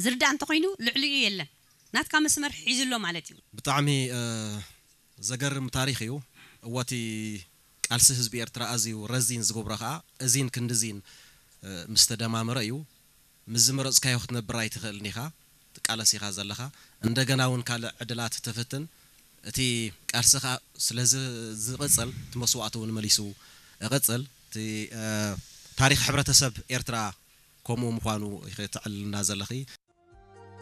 ዝርዳእ እንተኾይኑ ልዕሊኡ የለን። ናትካ መስመር ሒዙ ኣሎ ማለት እዩ። ብጣዕሚ ዘገርም ታሪኽ እዩ። እወቲ ቃልሲ ህዝቢ ኤርትራ ኣዝዩ ረዚን ዝገብሮ ከዓ እዚን ክንድዚን ምስ ተደማመረ እዩ። ምስ ዝመረፅካዮ ክትነብር ኣይትኽእልን ኢኻ፣ ትቃለስ ኢኻ ዘለኻ። እንደገና እውን ካልእ ዕድላት ትፍትን። እቲ ቃልስኻ ስለ ዝቕፅል እቲ መስዋእቲ እውን መሊሱ እቕፅል። እቲ ታሪኽ ሕብረተሰብ ኤርትራ ከምኡ ምዃኑ ኢኺ ተዕልልና ዘለኺ።